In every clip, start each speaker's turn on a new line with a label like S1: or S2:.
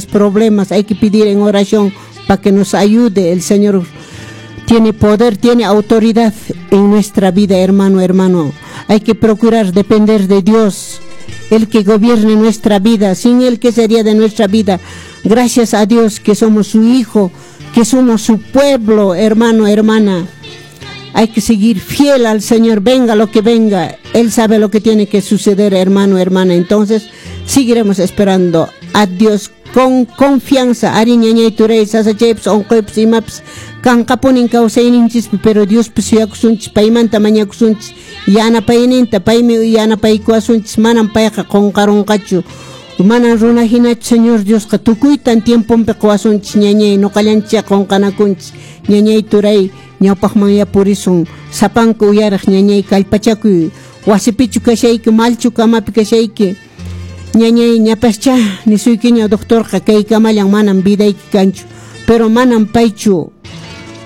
S1: Problemas, hay que pedir en oración para que nos ayude. El Señor tiene poder, tiene autoridad en nuestra vida, hermano, hermano. Hay que procurar depender de Dios, el que gobierne nuestra vida. Sin Él, ¿qué sería de nuestra vida? Gracias a Dios que somos su hijo, que somos su pueblo, hermano, hermana. Hay que seguir fiel al Señor, venga lo que venga. Él sabe lo que tiene que suceder, hermano, hermana. Entonces, seguiremos esperando a Dios con confianza. Arí, ñañay, turay, sasachaypas, unquypas, imapas kanqapunin kawsayninchispi, pero Diospi suyakusunchis, paymanta mañakusunchis yanapayninta, paymi yanapaykuwasunchis, manam payqa qunqarunqachu. Manan runa hinachu Señor Diosqa, tukuytan tiemponpi quwasunchis, ñañay, ñuqallanchik qunqanakunchis, ñañay, turay, ñawpaqmanya purisun, sapanka uyariq ñañay, kallpachakuy, wasipichu kashayki, malchu kamapi kashayki, ñañay, ñapascha nisuykiña doctorqa kaykamallan manam vidayki kanchu, pero manam paychu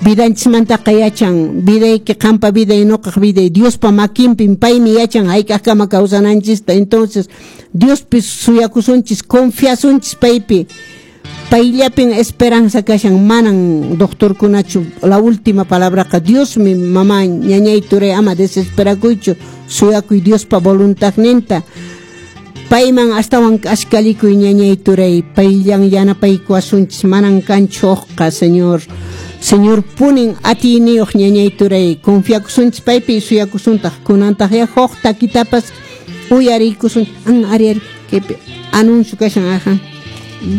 S1: vidanchismantaqa yachan, vidayki, qampa viday, ñuqaq viday, Diospa makinpin, paymi yachan hayk'aqkama kawsananchista. Entonces, Diospi suyakusunchis, confiasunchis paypi, payllapin esperanza kashan, manan doctorkunachu la última palabraqa Diosmi, mamá, ñañay, turay, ama desesperakuychu, suyakuy Diospa voluntadninta, payman astawan k'askalikuy, ñañay, turay, payllan yanapaykuwasunchis, manan kanchu hukqa. Señor, Señor punin atiyniyuq, ñañay, turay, confiakusunchis paypi, suyakusuntaq. Kunantaq ya huk takitapas uyariykusun. Ari, ari, kaypi anuncio kashan, aja.